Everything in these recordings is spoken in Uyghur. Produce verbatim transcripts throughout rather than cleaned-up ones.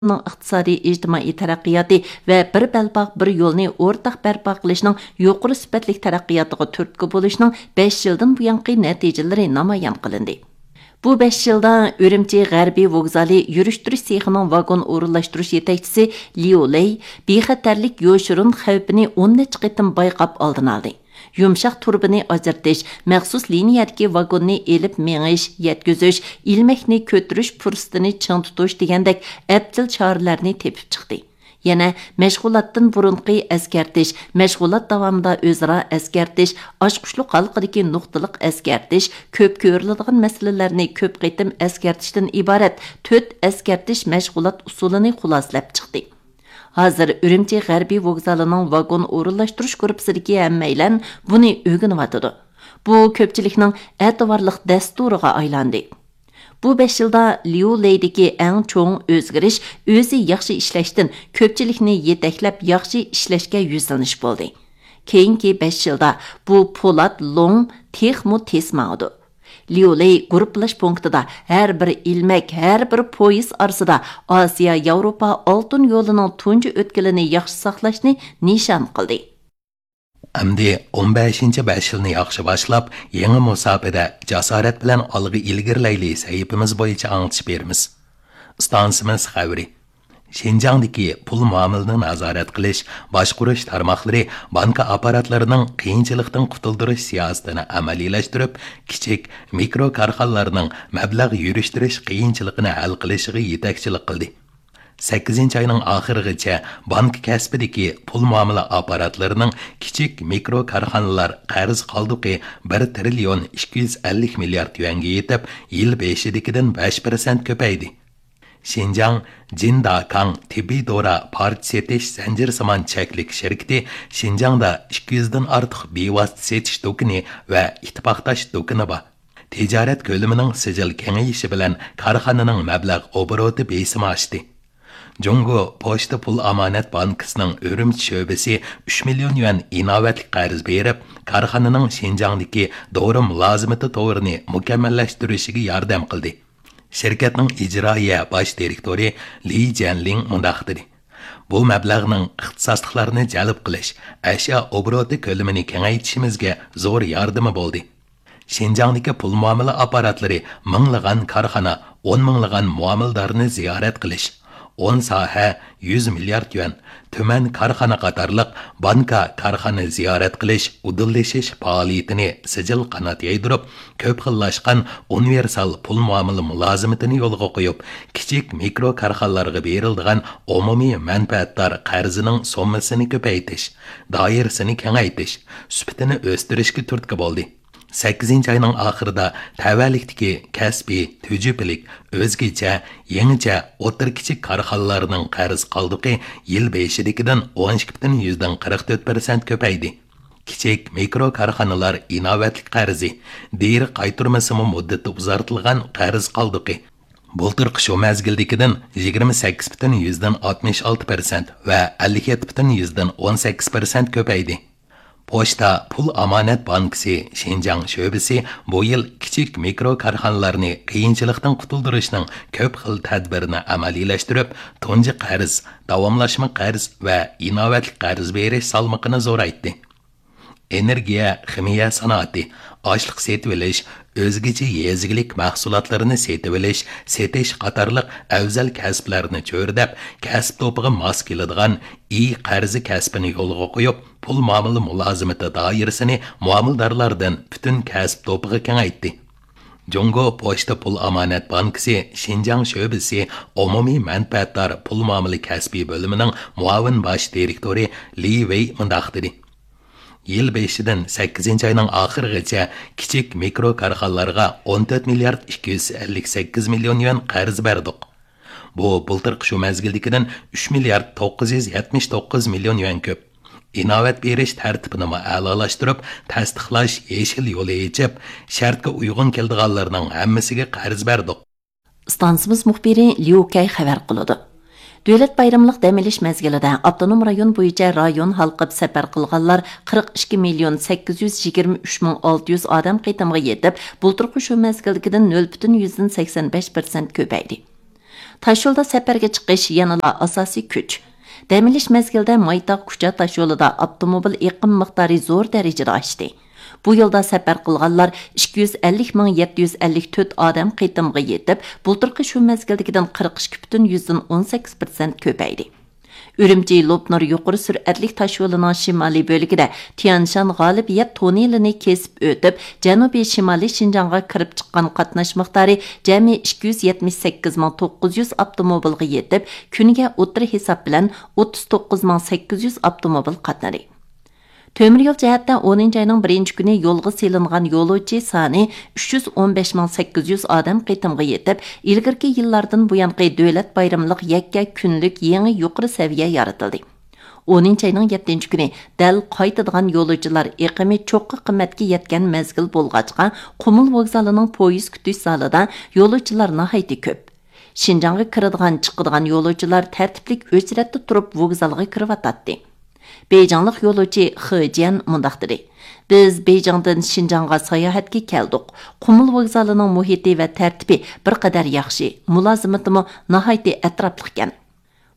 ئىقتىسادىي، ئىجتىمائىي تەرەققىياتى ۋە بىر بەلباغ، بىر يولنى ئورتاق بەرپا قىلىشنىڭ يۇقىرى سۈپەتلىك تەرەققىياتىغا تۈرتكە بولۇشنىڭ بەش يىلدىن بۇيانقى نەتىجىلىرى نامايان قىلىندى. بۇ بەش يىلدا ئۈرۈمچى غەربىي ۋوگزالى يۈرۈشتۈرۈش سېخىنىڭ ۋاگون ئورۇنلاشتۇرۇش يېتەكچىسى ليۇ لېي بىخەتەرلىك يوشۇرۇن خەۋپىنى ئون نەچچە قېتىم بايقاپ ئالدىنى ئالدى. يۇمشاق تۇرۇبىنى ئاجرىتىش، مەخسۇس لىنىيەدىكى ۋاگوننى ئېلىپ مېڭىش، يەتكۈزۈش، ئىلمەكنى كۆتۈرۈش پۇرسىتىنى چىڭ تۇتۇش دېگەندەك ئەپچىل چارىلەرنى تېپىپ چىقتى. يەنە مەشغۇلاتتىن بۇرۇنقى ئەسكەرتىش، مەشغۇلات داۋامىدا ئۆزئارا ئەسكەرتىش، ئاچقۇچلۇق ھالقىدىكى نۇقتىلىق ئەسكەرتىش، كۆپ كۆرۈلىدىغان مەسىلىلەرنى كۆپ قېتىم ئەسكەرتىشتىن ئىبارەت تۆت ئەسكەرتىش مەشغۇلات ئۇسۇلىنى خۇلاسىلەپ چىقتى. ھازىر ئۈرۈمچى غەربىي ۋوگزالىنىڭ ۋاگون ئورۇنلاشتۇرۇش گۇرۇپپىسىدىكى ھەممەيلەن بۇنى ئۆگىنىۋاتىدۇ. بۇ كۆپچىلىكنىڭ ئەتىۋارلىق دەستۇرىغا ئايلاندى. بۇ بەش يىلدا ليۇ لېيدىكى ئەڭ چوڭ ئۆزگىرىش ئۆزى ياخشى ئىشلەشتىن كۆپچىلىكنى يېتەكلەپ ياخشى ئىشلەشكە يۈزلىنىش بولدى. كېيىنكى بەش يىلدا بۇ پولات لوڭ تېخىمۇ تېز ماڭىدۇ. ليۇ لېي گۇرۇپپىلاش پونكىتىدا ھەر بىر ئىلمەك، ھەر بىر پويىز ئارىسىدا ئاسىيا ياۋروپا ئالتۇن يولىنىڭ تۇنجى ئۆتكىلىنى ياخشى ساقلاشنى نىشان قىلدى. ئەمدى ئون بەشىنچى بەش يىلنى ياخشى باشلاپ، يېڭى مۇساپىدە جاسارەت بىلەن ئالغا ئىلگىرىلەيلى سەھىپىمىز بويىچە ئاڭلىتىش بېرىمىز. ئىستانسىمىز خەۋىرى. شىنجاڭدىكى پۇل مۇئامىلىنى نازارەت قىلىش، باشقۇرۇش تارماقلىرى بانكا ئاپپاراتلىرىنىڭ قىيىنچىلىقتىن قۇتۇلدۇرۇش سىياسىتىنى ئەمەلىيلەشتۈرۈپ، كىچىك، مىكرو كارخانىلارنىڭ مەبلەغ يۈرۈشتۈرۈش قىيىنچىلىقىنى ھەل قىلىشىغا يېتەكچىلىك قىلدى. سەككىزىنچى ئاينىڭ ئاخىرىغىچە بانكا كەسپىدىكى پۇل مۇئامىلە ئاپپاراتلىرىنىڭ كىچىك، مىكرو كارخانىلار قەرز قالدۇقى بىر تىرىليون ئىككى يۈز ئەللىك مىليارد يۈەنگە يېتىپ، يىل بېشىدىكىدىن بەش پىرسەنت كۆپەيدى. شىنجاڭ جىنداكاڭ تېببىي دورا پارچە سېتىش زەنجىرسىمان چەكلىك شىركىتى شىنجاڭدا ئىككى يۈزدىن ئارتۇق بىۋاسىتە سېتىش دۇكىنى ۋە ئىتتىپاقداش دۇكىنى بار. تىجارەت كۆلىمىنىڭ سىجىل كېڭىيىشى بىلەن كارخانىنىڭ مەبلەغ ئوبوروتى بېسىمى ئاشتى. جۇڭگو پوچتا پۇل ئامانەت بانكىسىنىڭ ئۈرۈمچى شۆبىسى ئۈچ مىليون يۈەن ئىناۋەتلىك قەرز بېرىپ، كارخانىنىڭ شىنجاڭدىكى دورا مۇلازىمىتى تورىنى مۇكەممەللەشتۈرۈشىگە ياردەم قىلدى. شىركەتنىڭ ئىجرائىيە باش دىرېكتورى لى جيەنلىڭ مۇنداق دېدى: بۇ مەبلەغنىڭ ئىختىساسلىقلارنى جەلپ قىلىش، ئەشيا ئوبوروتى كۆلىمىنى كېڭەيتىشىمىزگە زور ياردىمى بولدى. شىنجاڭدىكى پۇل مۇئامىلە ئاپپاراتلىرى مىڭلىغان كارخانا، ئون مىڭلىغان مۇئامىلىدارنى زىيارەت قىلىش، ئون ساھە، يۈز مىليارد يۈەن، تۈمەن كارخانا قاتارلىق بانكا كارخانا زىيارەت قىلىش، ئۇدۇللىشىش پائالىيىتىنى سىجىل قانات يايدۇرۇپ، كۆپ خىللاشقان ئۇنىۋېرسال پۇل مۇئامىلە مۇلازىمىتىنى يولغا قويۇپ، كىچىك مىكرو كارخانىلارغا بېرىلىدىغان ئومۇمىي مەنپەئەتدار قەرزىنىڭ سوممىسىنى كۆپەيتىش، دائىرىسىنى كېڭەيتىش، سۈپىتىنى ئۆستۈرۈشكە تۈرتكە بولدى. سەككىزىنچى ئاينىڭ ئاخىرىدا تەۋەلىكتىكى كەسپىي، تۈجۈپىلىك، ئۆزگىچە، يېڭىچە، ئوتتۇرا، كىچىك كارخانىلارنىڭ قەرز قالدۇقى يىل بېشىدىكىدىن ئون ئىككى پۈتۈن يۈزدىن قىرىق تۆت پىرسەنت كۆپەيدى. كىچىك، مىكرو كارخانىلار ئىناۋەتلىك قەرزى، دېرى قايتۇرمىسىمۇ مۇددىتى ئۇزارتىلغان قەرز قالدۇقى بۇلتۇرقى شۇ مەزگىلدىكىدىن يىگىرمە سەككىز پۈتۈن يۈزدىن ئاتمىش ئالتە پىرسەنت ۋە ئەللىك يەتتە پۈتۈن يۈزدىن ئون سەككىز پىرسەنت كۆپەيدى. پوچتا پۇل ئامانەت بانكىسى شىنجاڭ شۆبىسى بۇ يىل كىچىك، مىكرو كارخانىلارنى قىيىنچىلىقتىن قۇتۇلدۇرۇشنىڭ كۆپ خىل تەدبىرىنى ئەمەلىيلەشتۈرۈپ، تۇنجى قەرز، داۋاملاشما قەرز ۋە ئىناۋەتلىك قەرز بېرىش سالمىقىنى زورايتتى. ئېنېرگىيە، خىمىيە سانائىتى، ئاشلىق سېتىۋېلىش، ئۆزگىچە يېزا ئىگىلىك مەھسۇلاتلىرىنى سېتىۋېلىش، سېتىش قاتارلىق ئەۋزەل كەسىپلەرنى چۆرىدەپ، كەسىپ توپىغا ماس كېلىدىغان ئى قەرزى كەسپىنى يولغا قويۇپ، پۇل مۇئامىلە مۇلازىمىتى دائىرىسىنى مۇئامىلىدارلاردىن پۈتۈن كەسىپ توپىغا كېڭەيتتى. جۇڭگو پوچتا پۇل ئامانەت بانكىسى شىنجاڭ شۆبىسى ئومۇمىي مەنپەئەتدار پۇل مۇئامىلە كەسپىي بۆلۈمىنىڭ مۇئاۋىن باش دىرېكتورى لى ۋېي مۇنداق دېدى: يىل بېشىدىن سەككىزىنچى ئاينىڭ ئاخىرىغىچە كىچىك، مىكرو كارخانىلارغا ئون تۆت مىليارد ئىككى يۈز ئەللىك سەككىز مىليون يۈەن قەرز بەردۇق. بۇ بۇلتۇرقى شۇ مەزگىلدىكىدىن ئۈچ مىليارد توققۇز يۈز يەتمىش توققۇز مىليون يۈەن كۆپ. ئىناۋەت بېرىش تەرتىپىنىمۇ ئەلالاشتۇرۇپ، تەستىقلاش يېشىل يولى ئېچىپ، شەرتكە ئۇيغۇن كېلىدىغانلارنىڭ ھەممىسىگە قەرز بەردۇق. ئىستانسىمىز مۇخبىرى ليۇ كەي خەۋەر قىلىدۇ. دۆلەت بايرىملىق دەم ئېلىش مەزگىلىدە ئاپتونوم رايون بويىچە رايون ھالقىپ سەپەر قىلغانلار قىرىق ئىككى مىليون سەككىز يۈز يىگىرمە ئۈچ مىڭ ئالتە يۈز ئادەم قېتىمغا يېتىپ، بۇلتۇرقى شۇ مەزگىلدىكىدىن نۆل پۈتۈن يۈزدىن سەكسەن بەش پىرسەنت كۆپەيدى. تاشيولدا سەپەرگە چىقىش يەنىلا ئاساسىي كۈچ. دەم ئېلىش مەزگىلىدە مايتاغ كۇچا تاشيولىدا ئاپتوموبىل ئېقىم مىقدارى زور دەرىجىدە ئاشتى. بۇ يولدا سەپەر قىلغانلار ئىككى يۈز ئەللىك مىڭ يەتتە يۈز ئەللىك تۆت ئادەم قېتىمغا يېتىپ، بۇلتۇرقى شۇ مەزگىلدىكىدىن قىرىق ئىككى پۈتۈن يۈزدىن ئون سەككىز پىرسەنت كۆپەيدى. ئۈرۈمچى لوپنۇر يۇقىرى سۈرئەتلىك تاشيولىنىڭ شىمالىي بۆلىكىدە تيەنشان غالىبىيەت توننېلىنى كېسىپ ئۆتۈپ، جەنۇبىي شىمالىي شىنجاڭغا كىرىپ چىققان قاتناش مىقدارى جەمئىي ئىككى يۈز يەتمىش سەككىز مىڭ توققۇز يۈز ئاپتوموبىلغا يېتىپ، كۈنىگە ئوتتۇرا ھېساب بىلەن ئوتتۇز توققۇز مىڭ سەككىز يۈز ئاپتوموبىل قاتنىدى. تۆمۈر يول جەھەتتە ئونىنچى ئاينىڭ بىرىنچى كۈنى يولغا سېلىنغان يولۇچى سانى ئۈچ يۈز ئون بەش مىڭ سەككىز يۈز ئادەم قېتىمغا يېتىپ، ئىلگىرىكى يىللاردىن بۇيانقى دۆلەت بايرىملىق يەككە كۈنلۈك يېڭى يۇقىرى سەۋىيە يارىتىلدى. ئونىنچى ئاينىڭ يەتتىنچى كۈنى دەل قايتىدىغان يولۇچىلار ئېقىمى چوققا قىممەتكە يەتكەن مەزگىل بولغاچقا، قۇمۇل ۋوگزالىنىڭ پويىز كۈتۈش زالىدا يولۇچىلار ناھايىتى كۆپ. شىنجاڭغا كىرىدىغان، چىقىدىغان يولۇچىلار تەرتىپلىك ئۆچرەتتە تۇرۇپ ۋوگزالغا كىرىۋاتاتتى. بېيجىڭلىق يولۇچى خې جيەن مۇنداق دېدى: «بىز بېيجىڭدىن شىنجاڭغا ساياھەتكە كەلدۇق. قۇمۇل ۋوگزالىنىڭ مۇھىتى ۋە تەرتىپى بىر قەدەر ياخشى، مۇلازىمىتىمۇ ناھايىتى ئەتراپلىقكەن.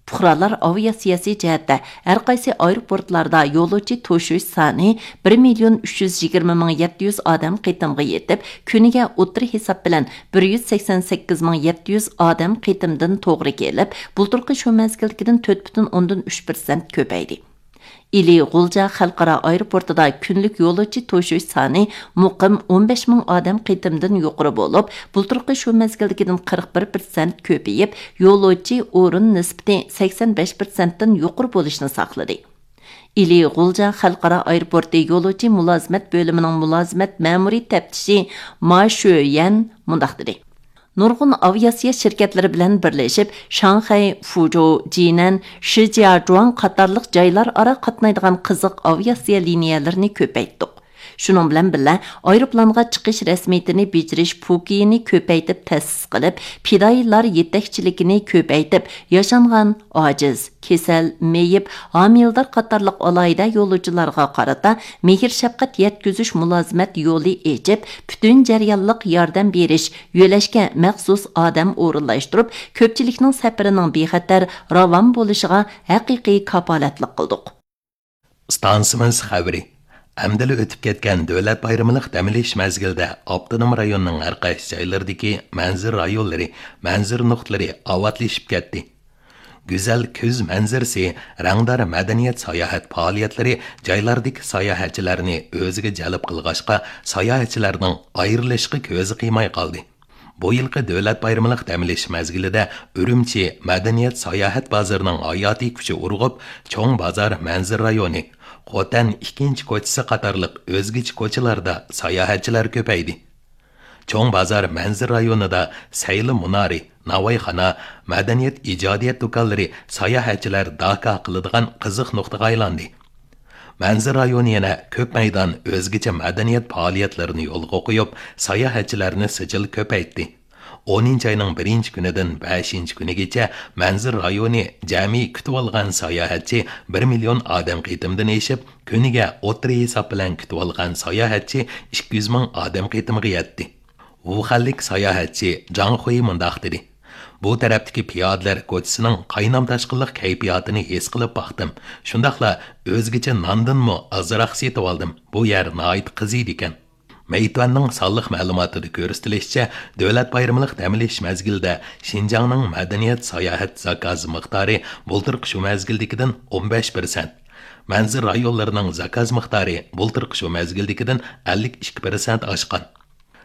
پۇقرالار ئاۋىئاتسىيەسى جەھەتتە ھەر قايسى ئايروپورتلاردا يولۇچى توشۇش سانى بىر مىليون ئۈچ يۈز يىگىرمە مىڭ يەتتە يۈز ئادەم قېتىمغا يېتىپ، كۈنىگە ئوتتۇرا ھېساب بىلەن بىر يۈز سەكسەن سەككىز مىڭ يەتتە يۈز ئادەم قېتىمدىن توغرا كېلىپ، بۇلتۇرقى شۇ مەزگىلدىكىدىن تۆت پۈتۈن ئوندىن ئۈچ پىرسەنت كۆپەيدى. ئىلى غۇلجا خەلقئارا ئايروپورتىدا كۈنلۈك يولۇچى توشۇش سانى مۇقىم ئون بەش مىڭ ئادەم قېتىمدىن يۇقىرى بولۇپ، بۇلتۇرقى شۇ مەزگىلدىكىدىن قىرىق بىر پىرسەنت كۆپىيىپ، يولۇچى ئورۇن نىسبىتى سەكسەن بەش پىرسەنتتىن يۇقىرى بولۇشنى ساقلىدى. ئىلى غۇلجا خەلقئارا ئايروپورتى يولۇچى مۇلازىمەت بۆلۈمىنىڭ مۇلازىمەت مەمۇرىي تەپتىشى ما شۆيەن مۇنداق دېدى: «نۇرغۇن ئاۋىئاتسىيە شىركەتلىرى بىلەن بىرلىشىپ، شاڭخەي، فۇجو، جىنەن، شىجياجۇاڭ قاتارلىق جايلار ئارا قاتنايدىغان قىزىق ئاۋىئاتسىيە لىنىيەلىرىنى كۆپەيتتۇق. شۇنىڭ بىلەن بىللە، ئايروپىلانغا چىقىش رەسمىيىتىنى بېجىرىش پوكىيىنى كۆپەيتىپ تەسىس قىلىپ، پىدائىيلار يېتەكچىلىكىنى كۆپەيتىپ، ياشانغان، ئاجىز، كېسەل، مېيىپ، ھامىلىدار قاتارلىق ئالاھىدە يولۇچىلارغا قارىتا مېھىر-شەپقەت يەتكۈزۈش مۇلازىمەت يولى ئېچىپ، پۈتۈن جەريانلىق ياردەم بېرىش، يۆلەشكە مەخسۇس ئادەم ئورۇنلاشتۇرۇپ، كۆپچىلىكنىڭ سەپىرىنىڭ بىخەتەر، راۋان بولۇشىغا ھەقىقىي كاپالەتلىك قىلدۇق.» ئىستانسىمىز خەۋىرى. ئەمدىلا ئۆتۈپ كەتكەن دۆلەت بايرىمىلىق دەم ئېلىش مەزگىلىدە ئاپتونوم رايوننىڭ ھەر قايسى جايلىرىدىكى مەنزىرە رايونلىرى، مەنزىرە نۇقتىلىرى ئاۋاتلىشىپ كەتتى. گۈزەل كۈز مەنزىرىسى، رەڭدار مەدەنىيەت ساياھەت پائالىيەتلىرى جايلاردىكى ساياھەتچىلەرنى ئۆزىگە جەلپ قىلغاچقا، ساياھەتچىلەرنىڭ ئايرىلىشقا كۆزى قىيماي قالدى. بۇ يىلقى دۆلەت بايرىمىلىق دەم ئېلىش مەزگىلىدە ئۈرۈمچى مەدەنىيەت ساياھەت بازىرىنىڭ ھاياتىي كۈچى ئۇرغۇپ، چوڭ بازار مەنزىرە رايونى، خوتەن ئىككىنچى كوچىسى قاتارلىق ئۆزگىچە كوچىلاردا ساياھەتچىلەر كۆپەيدى. چوڭ بازار مەنزىرە رايونىدا سەيلە مۇنارى، ناۋايخانا، مەدەنىيەت ئىجادىيەت دۇكانلىرى ساياھەتچىلەر داكا قىلىدىغان قىزىق نۇقتىغا ئايلاندى. مەنزىرە رايونى يەنە كۆپ مەيدان ئۆزگىچە مەدەنىيەت پائالىيەتلىرىنى يولغا قويۇپ، ساياھەتچىلەرنى سىجىل كۆپەيتتى. ئونىنچى ئاينىڭ بىرىنچى كۈنىدىن بەشىنچى كۈنىگىچە مەنزىرە رايونى جەمئىي كۈتۈۋالغان ساياھەتچى بىر مىليون ئادەم قېتىمدىن ئېشىپ، كۈنىگە ئوتتۇرا ھېساب بىلەن كۈتۈۋالغان ساياھەتچى ئىككى يۈز مىڭ ئادەم قېتىمىغا يەتتى. ۋۇخەنلىك ساياھەتچى جاڭ خۇي مۇنداق دېدى: «بۇ تەرەپتىكى پىيادىلەر كوچىسىنىڭ قاينام-تاشقىنلىق كەيپىياتىنى ھېس قىلىپ باقتىم. شۇنداقلا ئۆزگىچە ناندىنمۇ ئازراق سېتىۋالدىم. بۇ يەر ناھايىتى قىزىيدىكەن.» مەيتۈەننىڭ سانلىق مەلۇماتىدا كۆرسىتىلىشىچە، دۆلەت بايرىملىق دەم ئېلىش مەزگىلىدە شىنجاڭنىڭ مەدەنىيەت ساياھەت زاكاز مىقدارى بۇلتۇرقى شۇ مەزگىلدىكىدىن ئون بەش پىرسەنت، مەنزىرە رايونلىرىنىڭ زاكاز مىقدارى بۇلتۇرقى شۇ مەزگىلدىكىدىن ئەللىك ئىككى پىرسەنت ئاشقان.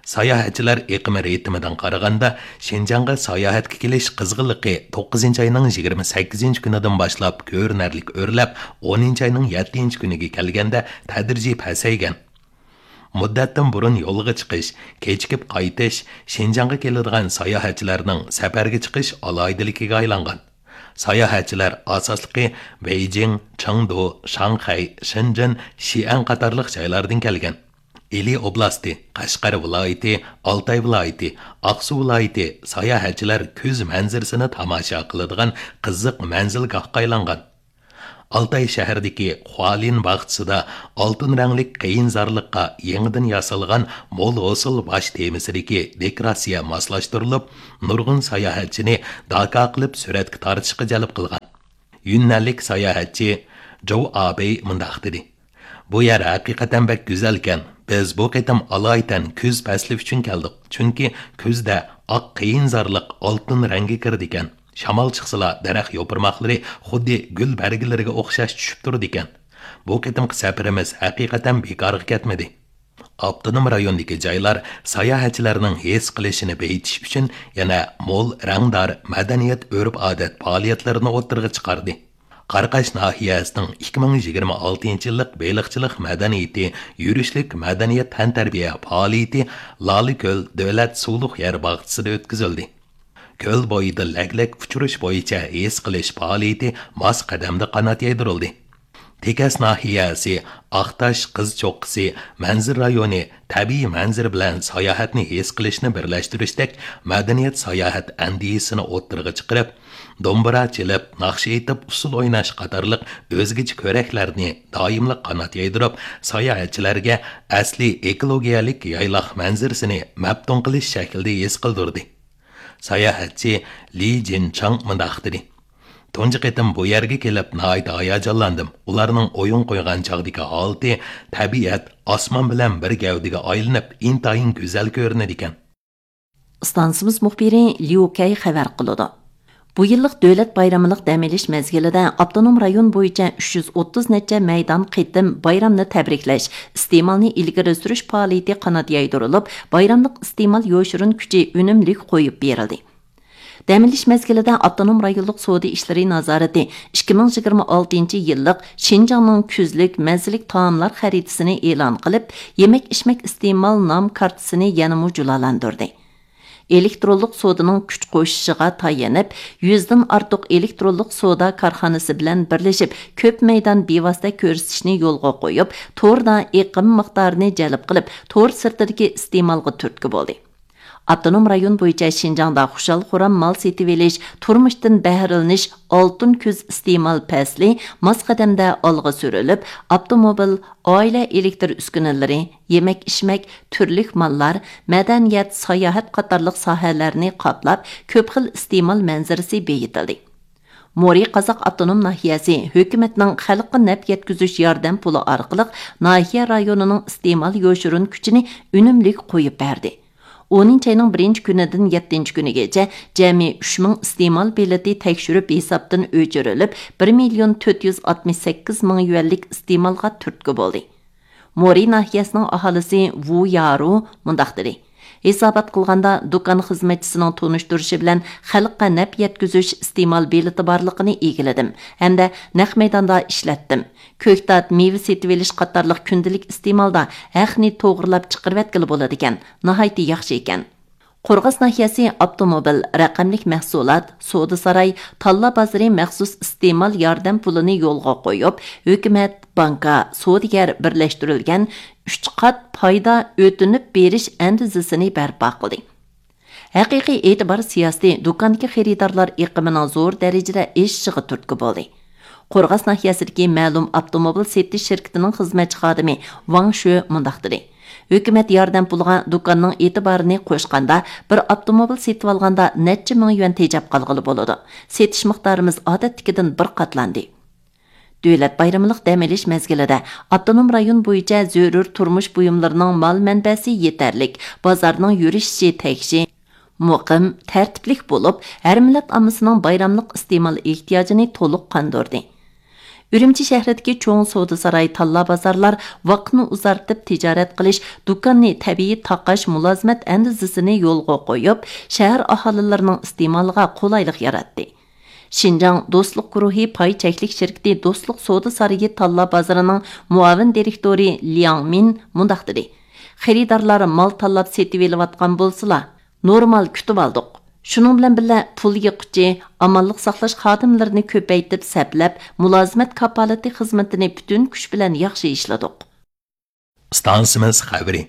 ساياھەتچىلەر ئېقىمى رىتىمىدىن قارىغاندا، شىنجاڭغا ساياھەتكە كېلىش قىزغىنلىقى توققۇزىنچى ئاينىڭ يىگىرمە سەككىزىنچى كۈنىدىن باشلاپ كۆرۈنەرلىك ئۆرلەپ، ئونىنچى ئاينىڭ يەتتىنچى كۈنىگە كەلگەندە تەدرىجىي پەسەيگەن. مۇددەتتىن بۇرۇن يولغا چىقىش، كېچىكىپ قايتىش شىنجاڭغا كېلىدىغان ساياھەتچىلەرنىڭ سەپەرگە چىقىش ئالاھىدىلىكىگە ئايلانغان. ساياھەتچىلەر ئاساسلىقى بېيجىڭ، چېڭدۇ، شاڭخەي، شېنجېن، شىئەن قاتارلىق جايلاردىن كەلگەن. ئىلى ئوبلاستى، قەشقەر ۋىلايىتى، ئالتاي ۋىلايىتى، ئاقسۇ ۋىلايىتى ساياھەتچىلەر كۈز مەنزىرىسىنى تاماشا قىلىدىغان قىزىق مەنزىلگاھقا ئايلانغان. ئالتاي شەھىرىدىكى خۇالىن باغچىسىدا ئالتۇن رەڭلىك قېيىنزارلىققا يېڭىدىن ياسالغان مول ھوسۇل باش تېمىسىدىكى دېكوراتسىيە ماسلاشتۇرۇلۇپ، نۇرغۇن ساياھەتچىنى داكا قىلىپ سۈرەتكە تارتىشقا جەلپ قىلغان. يۈننەنلىك ساياھەتچى جوۋ ئابېي مۇنداق دېدى: «بۇ يەر ھەقىقەتەن بەك گۈزەلكەن. بىز بۇ قېتىم ئالايىتەن كۈز پەسلى ئۈچۈن كەلدۇق. چۈنكى كۈزدە ئاق قېيىنزارلىق ئالتۇن رەڭگە كىرىدىكەن. شامال چىقسىلا، دەرەخ يوپۇرماقلىرى خۇددى گۈل بەرگىلىرىگە ئوخشاش چۈشۈپ تۇرىدىكەن. بۇ قېتىمقى سەپىرىمىز ھەقىقەتەن بىكارغا كەتمىدى.» ئاپتونوم رايوندىكى جايلار ساياھەتچىلەرنىڭ ھېس قىلىشىنى بېيىتىش ئۈچۈن يەنە مول رەڭدار مەدەنىيەت، ئۆرپ-ئادەت پائالىيەتلىرىنى ئوتتۇرىغا چىقاردى. قاراقاش ناھىيەسىنىڭ ئىككى مىڭ يىگىرمە ئالتىنچى يىللىق بېلىقچىلىق مەدەنىيىتى يۈرۈشلۈك مەدەنىيەت تەنتەربىيە پائالىيىتى لالىكۆل دۆلەت سۇلۇق يەر باغچىسىدا ئۆتكۈزۈلدى. كۆل بويىدا لەگلەك ئۇچۇرۇش بويىچە ھېس قىلىش پائالىيىتى ماس قەدەمدە قانات يايدۇرۇلدى. تېكەس ناھىيەسى ئاقتاش قىز چوققىسى مەنزىرە رايونى تەبىئىي مەنزىرە بىلەن ساياھەتنى ھېس قىلىشنى بىرلەشتۈرۈشتەك مەدەنىيەت ساياھەت ئەندىزىسىنى ئوتتۇرىغا چىقىرىپ، دومبۇرا چېلىپ، ناخشا ئېيتىپ، ئۇسسۇل ئويناش قاتارلىق ئۆزگىچە كۆرەكلەرنى دائىملىق قانات يايدۇرۇپ، ساياھەتچىلەرگە ئەسلىي ئېكولوگىيەلىك يايلاق مەنزىرىسىنى مەپتۇن قىلىش شەكلىدە ھېس قىلدۇردى. ساياھەتچى لى جىنچاڭ مۇنداق دېدى: «تۇنجى قېتىم بۇ يەرگە كېلىپ ناھايىتى ھاياجانلاندىم. ئۇلارنىڭ ئويۇن قويغان چاغدىكى ھالىتى، تەبىئەت ئاسمان بىلەن بىر گەۋدىگە ئايلىنىپ، ئىنتايىن گۈزەل كۆرۈنىدىكەن.» ئىستانسىمىز مۇخبىرى ليۇ كەي خەۋەر قىلىدۇ. بۇ يىللىق دۆلەت بايرىملىق دەم ئېلىش مەزگىلىدە ئاپتونوم رايون بويىچە ئۈچ يۈز ئوتتۇز نەچچە مەيدان قېتىم بايرامنى تەبرىكلەش، ئىستېمالنى ئىلگىرى سۈرۈش پائالىيىتى قانات يايدۇرۇلۇپ، بايراملىق ئىستېمال يوشۇرۇن كۈچى ئۈنۈملۈك قويۇپ بېرىلدى. دەم ئېلىش مەزگىلىدە ئاپتونوم رايونلۇق سودا ئىشلىرى نازارىتى ئىككى مىڭ يىگىرمە ئالتىنچى يىللىق شىنجاڭنىڭ كۈزلۈك مەززىلىك تائاملار خەرىتىسىنى ئېلان قىلىپ، يېمەك-ئىچمەك ئىستېمال نام كارتىسىنى يەنىمۇ جۇلالاندۇردى. ئېلېكترونلۇق سودىنىڭ كۈچ قوشۇشىغا تايىنىپ، يۈزدىن ئارتۇق ئېلېكترونلۇق سودا كارخانىسى بىلەن بىرلىشىپ، كۆپ مەيدان بىۋاسىتە كۆرسىتىشنى يولغا قويۇپ، توردا ئېقىم مىقدارىنى جەلپ قىلىپ، تور سىرتىدىكى ئىستېمالغا تۈرتكە بولدى. ئاپتونوم رايون بويىچە شىنجاڭدا خۇشال-خۇرام مال سېتىۋېلىش، تۇرمۇشتىن بەھرىلىنىش ئالتۇن كۈز ئىستېمال پەسلى ماس قەدەمدە ئالغا سۈرۈلۈپ، ئاپتوموبىل، ئائىلە ئېلېكتر ئۈسكۈنىلىرى، يېمەك-ئىچمەك، تۈرلۈك ماللار، مەدەنىيەت، ساياھەت قاتارلىق ساھەلەرنى قاپلاپ، كۆپ خىل ئىستېمال مەنزىرىسى بېيىتىلدى. مورى قازاق ئاپتونوم ناھىيەسى ھۆكۈمەتنىڭ خەلققە نەپ يەتكۈزۈش ياردەم پۇلى ئارقىلىق ناھىيە رايونىنىڭ ئىستېمال يوشۇرۇن كۈچىنى ئۈنۈملۈك قويۇپ بەردى. ئونىنچى ئاينىڭ بىرىنچى كۈنىدىن يەتتىنچى كۈنىگىچە جەمئىي ئۈچ مىڭ ئىستېمال بېلىتى تەكشۈرۈپ ھېسابتىن ئۆچۈرۈلۈپ، بىر مىليون تۆت يۈز ئاتمىش سەككىز مىڭ يۈەنلىك ئىستېمالغا تۈرتكە بولدى. مورى ناھىيەسىنىڭ ئاھالىسى ۋۇ يارۇ مۇنداق دېدى: «ھېسابات قىلغاندا، دۇكان خىزمەتچىسىنىڭ تونۇشتۇرۇشى بىلەن خەلققە نەپ يەتكۈزۈش ئىستېمال بېلىتى بارلىقىنى ئىگىلىدىم ھەمدە نەق مەيداندا ئىشلەتتىم. كۆكتات، مېۋە سېتىۋېلىش قاتارلىق كۈندىلىك ئىستېمالدا ھەقنى توغرىلاپ چىقىرىۋەتكىلى بولىدىكەن، ناھايىتى ياخشى ئىكەن.» قورغاس ناھىيەسى ئاپتوموبىل، رەقەملىك مەھسۇلات، سودا ساراي، تاللا بازىرى مەخسۇس ئىستېمال ياردەم پۇلىنى يولغا قويۇپ، ھۆكۈمەت، بانكا، سودىگەر بىرلەشتۈرۈلگەن ئۈچ قات پايدا ئۆتۈنۈپ بېرىش ئەندىزىسىنى بەرپا قىلدى. ھەقىقىي ئېتىبار سىياسىتى دۇكاندىكى خېرىدارلار ئېقىمىنىڭ زور دەرىجىدە ئېشىشىغا تۈرتكە بولدى. قورغاس ناھىيەسىدىكى مەلۇم ئاپتوموبىل سېتىش شىركىتىنىڭ خىزمەتچى خادىمى ۋاڭ شۆ مۇنداق دېدى: «ھۆكۈمەت ياردەم پۇلىغا دۇكاننىڭ ئېتىبارىنى قوشقاندا، بىر ئاپتوموبىل سېتىۋالغاندا نەچچە مىڭ يۈەن تېجەپ قالغىلى بولىدۇ. سېتىش مىقدارىمىز ئادەتتىكىدىن بىر قاتلاندى.» دۆلەت بايرىملىق دەم ئېلىش مەزگىلىدە ئاپتونوم رايون بويىچە زۆرۈر تۇرمۇش بۇيۇملىرىنىڭ مال مەنبەسى يېتەرلىك، بازارنىڭ يۈرۈشۈشى تەكشى، مۇقىم، تەرتىپلىك بولۇپ، ھەر مىللەت ئاممىسىنىڭ بايراملىق ئىستېمال ئېھتىياجىنى تولۇق قاندۇردى. ئۈرۈمچى شەھىرىدىكى چوڭ سودا ساراي، تاللا بازارلار ۋاقىتنى ئۇزارتىپ تىجارەت قىلىش، دۇكاننى تەبىئىي تاقاش مۇلازىمەت ئەندىزىسىنى يولغا قويۇپ، شەھەر ئاھالىلىرىنىڭ ئىستېمالىغا قولايلىق ياراتتى. شىنجاڭ دوستلۇق گۇرۇھى پاي چەكلىك شىركىتى دوستلۇق سودا سارىيى تاللا بازىرىنىڭ مۇئاۋىن دىرېكتورى لياڭ مىن مۇنداق دېدى: «خېرىدارلار مال تاللاپ سېتىۋېلىۋاتقان بولسىلا، نورمال كۈتۈۋالدۇق. شۇنىڭ بىلەن بىللە، پۇل يىغقۇچى، ئامانلىق ساقلاش خادىملىرىنى كۆپەيتىپ سەپلەپ، مۇلازىمەت كاپالىتى خىزمىتىنى پۈتۈن كۈچ بىلەن ياخشى ئىشلىدۇق.» ئىستانسىمىز خەۋىرى.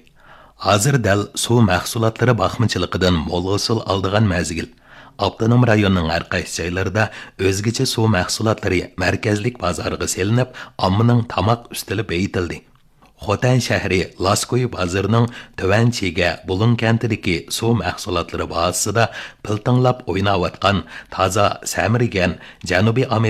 ھازىر دەل سۇ مەھسۇلاتلىرى باقمىچىلىقىدىن مول ھوسۇل ئالىدىغان مەزگىل. ئاپتونوم رايوننىڭ ھەر قايسى جايلىرىدا ئۆزگىچە سۇ مەھسۇلاتلىرى مەركەزلىك بازارغا سېلىنىپ، ئاممىنىڭ تاماق ئۈستىلى بېيىتىلدى. خوتەن شەھىرى لاسكوي بازىرىنىڭ تۆۋەن چىگە بۇلۇڭ كەنتىدىكى سۇ مەھسۇلاتلىرى بازىسىدا پىلتىڭلاپ ئويناۋاتقان تازا سەمرىگەن جەنۇبىي